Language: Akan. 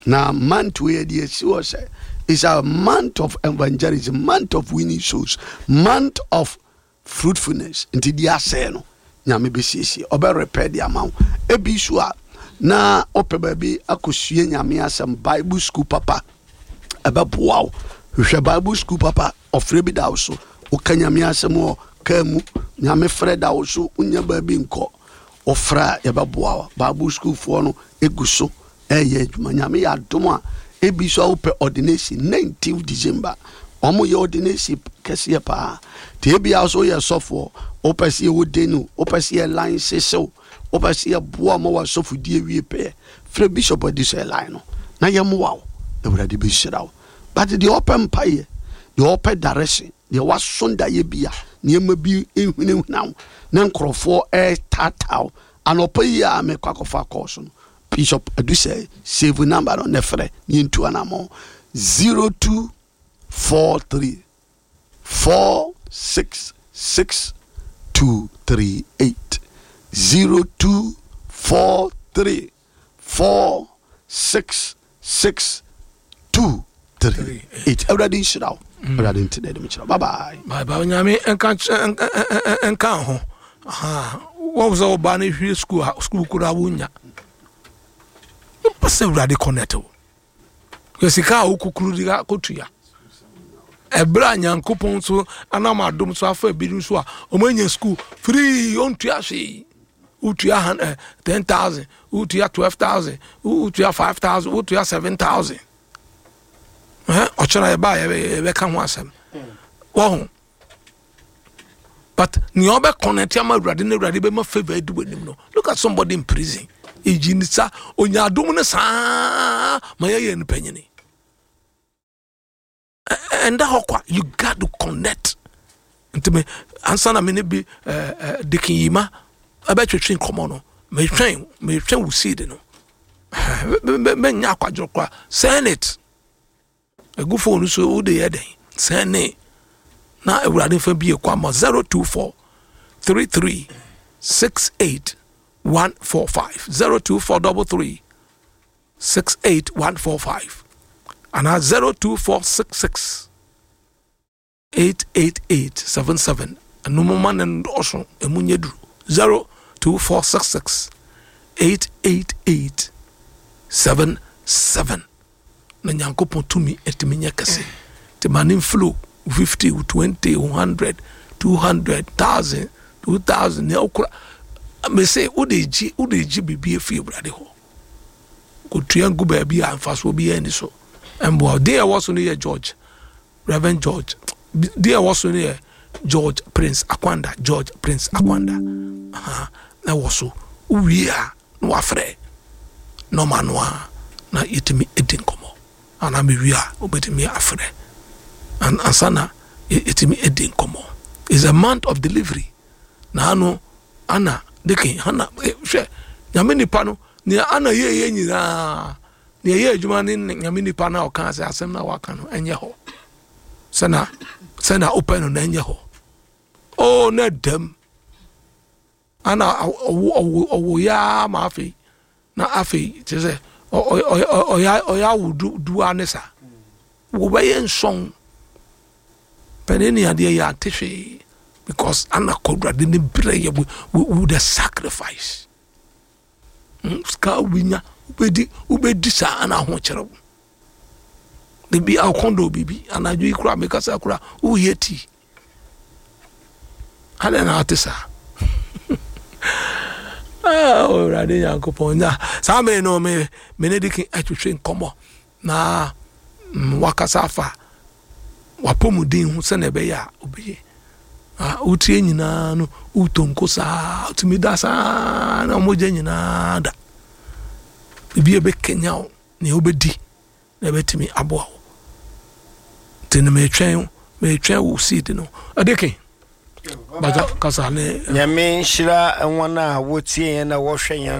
Na month wei yɛde asi hɔ sɛ is a month of evangelism, month of winning souls, month of fruitfulness. Nti deɛ asɛe no Nyame bɛsiesie, ɔbɛ repair de ama wo. Ebi so a na wopɛ baabi akɔsua Nyame asɛm, Bible school papa ɛbɛboa wo. Hwehwɛ Bible school papa, ɔfrɛ bi da wo so, woka Nyame asɛm wɔ kaa mu, Nyame frɛ da wo so, wonya baabi nkɔ, wofrɛ a yɛbɛboa wo. Bible school foɔ no egu so ɛyɛ adwuma. Nyame yɛ adom a ebi so a wopɛ ordination 19 December wɔn yɛ ordination kɛseɛ paa te ebi a so yɛ sɔfoɔ wopɛ sɛ yɛwɔ denu wopɛ sɛ yɛ line sesew wopɛ sɛ yɛboa ma wasɔfodie wie pɛɛ frɛ bishop adi sɛ line no na yɛmmoa wo. Awurade bɛhyira wo. But deɛ ɔpɛ mpaeɛ, deɛ ɔpɛ direction, deɛ waso daeɛ bi a nneɛma bi ehunahuna wo na nkurɔfoɔ ɛretaataa wo anɔpa yi a mekɔ akɔfa kɔɔso no Bishop Adusɛ save number no na frɛ na yɛntu anammɔn 0243 466 238 0243 466 238. Awurade nhyira wo. Awurade nti na ɛde me kyerɛ. Bye bye. Bye bye. Onyame nka nka ho. Wɔn sɛ ɔbaa no hwie sukuu a sukuu koraa wonya. Wopɛ sɛ Awurade connect wo. Yɛ sika a wokukuru de akɔtua. Ɛberɛ a Nyankopɔn so anam adom so afa ebinom so a wɔanya sukuu free ɔntua hwee. Wotua 10,000, wotua 12,000, wotua 5,000, wotua 7,000. Ɔkyena yɛba yɛbɛka ho asɛm. Wɔho. But nea ɔbɛ connect ama Awurade na Awurade bɛma favour adi w'anim no. Look at somebody in prison. Eyi ne sa onya adom no saa ma yɛyɛ no panyini. Ɛnda hɔ kwa. You got to connect. Nti me ansa na me ne bi Dikin Yima ɛbɛtwetwe nkɔmɔ no. Metwɛn wo seed no. Menya akwadworɔ koraa. Send it. Egu phone so wo de yɛ dɛn? Send ne. Na Awurade fa bi ekɔ ama 024 33 68 145 024 33 68 145 anaa 024 66 888 77. Ɛno mo ma no ndɔɔso, emu nyɛ duru. 02466 888 77. Na Nyankopɔn tumi atumi nyɛ kɛse. Nti ma ne mflow 50, 20, 100, 200, 1000, 2000, nea wokura. Mese wode gye, wode gye biribi afiri Awurade hɔ. Kɔtua ngu baabi a mfasoɔ biara nni so. Ɛmboa. Din a ɛwɔ so no yɛ George. Reverend George. Din a ɛwɔ so no yɛ George Prince Akwanda. George Prince Akwanda. Aha, na ɛwɔ so. Wowie a, na wafrɛ nɔma no a, na yɛtumi di nkɔmmɔ. Anaa mewie a, wobɛtumi afrɛ. Ansa na yɛtumi di nkɔmmɔ. It's a month of delivery. Na ano, ana, dekin, hana, hwɛ, nyame nipa no, nea ana yɛyɛ nyinaa, Nea ɛyɛ adwuma ne Nyame nipa no a ɔkaa sɛ asɛm no a waka no ɛnyɛ hɔ sɛna sɛna wopɛ no na ɛnyɛ hɔ. Oh, na dɛm ana ɔwo ɔwo ɔwo yaa ma afei na afei kyerɛ sɛ ɔyɛ ɔyɛ awo du du ne sa wɔbɛyɛ nsɔn pɛne ne adeɛ yɛ ante hwee because ana kɔdurade ne brɛ yɛ with the sacrifice. Hmm, sika wobɛnya wobɛdi wobɛdi saa ana ho kyerɛ wo da bi akɔndɔ biribi anadwo yi koraa mekasa koraa woyɛ tii adɛn na ate saa? Ah, Awurade Nyankopɔn nya saa mmere no me me ne dikin atwetwe nkɔmmɔ na mm, wakasa afa w'apɔmuden ho sɛnea ɛbɛyɛ a wobɛyɛ. Na wotie nyinaa no wotɔ nko saa wotumi da saa na mogya nyinaa da. Biribi a ɛbɛkanya wo nea wobɛdi na ɛbɛtumi aboa wo. Nti no metwɛn metwɛn wo seed no. Ɛde ke bàtà kasa ne. Nyame nhyira wɔn a wɔtie yɛn na wɔhwɛ yɛn.